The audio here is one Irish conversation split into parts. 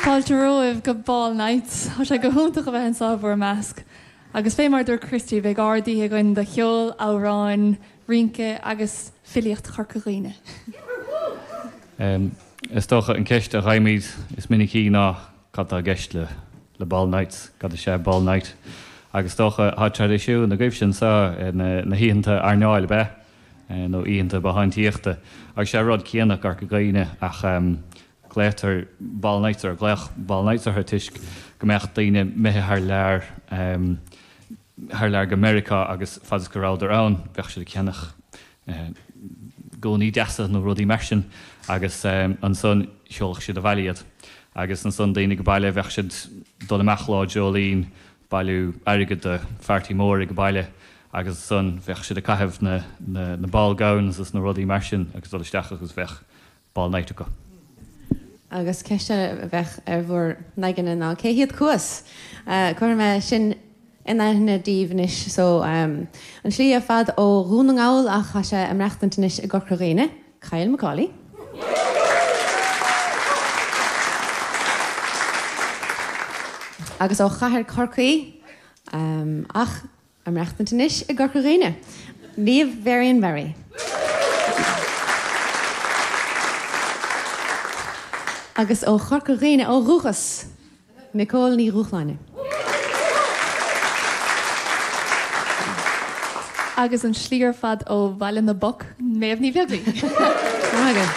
Fáilte romhaibh go Ball Nights. Tá sé go hiontach a bheith anseo i bhur measc. Agus fé mar a dúirt Christy, beidh ard-oíche againn de cheol, amhráin, rince agus filíocht Chorca Dhuibhne. Is dócha an ceist a fhaighimid is minicí ná cad tá i gceist le le Ball Nights, cad is ea Ball Night? Agus is dócha tá traidisiún agaibhse anseo na na hoícheanta airneáil ab ea? Nó oícheanta bothántaíochta. Agus sé rud céanna i gCorca Dhuibhne ach glaotar Ball Nights or glaodh Ball Nights orthu toisc go mbeadh daoine imithe thar lear thar lear go Meiriceá agus fad is go rabhadar ann bheadh siad ag ceannach gúnaí deasa nó rudaí mar sin agus ansan sheolfadh siad abhaile iad. Agus ansan daoine ag baile bheadh siad dul amach Lá Dreoilín bailiú airgead do pharty mór ag baile agus ansan bheadh siad ag caitheamh na na ball gowns is na rudaí mar sin agus dul isteach agus bheadh ball night acu. Agus ceist eile a bheadh ar bhur n-aigne ná cé hiad Cuas? Cuirfidh mé sin in aithne daoibh anois. So, an slí ar fad ó Dhún na nGall ach tá sé ag maireachtaint anois i gCorca Dhuibhne, Kyle Macaulay. Agus ó chathair Chorcaí ach Ag maireachtaint anois i gCorca Dhuibhne, Niamh Varian Barry. Agus ó Chorca Dhuibhne ó dhúchas, Nicole Ní Dhúshláine. Agus an slí ar fad ó Bhaile na bPoc, Méabh Ní Bheaglaoí. Maith agaibh.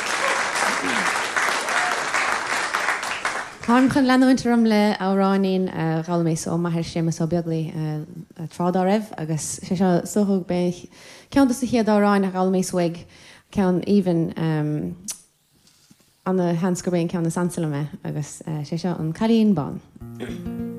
Táim chun leanúint orm le amhráinín a d'fhoghlaimíos ó m'athair Séamus Ó Beaglaoi tráth dá raibh agus sé seo is dócha gurb é ceann dos na chéad amhráin a d'fhoghlaimíos uaidh, ceann aoibhinn. Ana sheans gurb é an ceann is ansa liom é agus sé seo An Cailín Bán.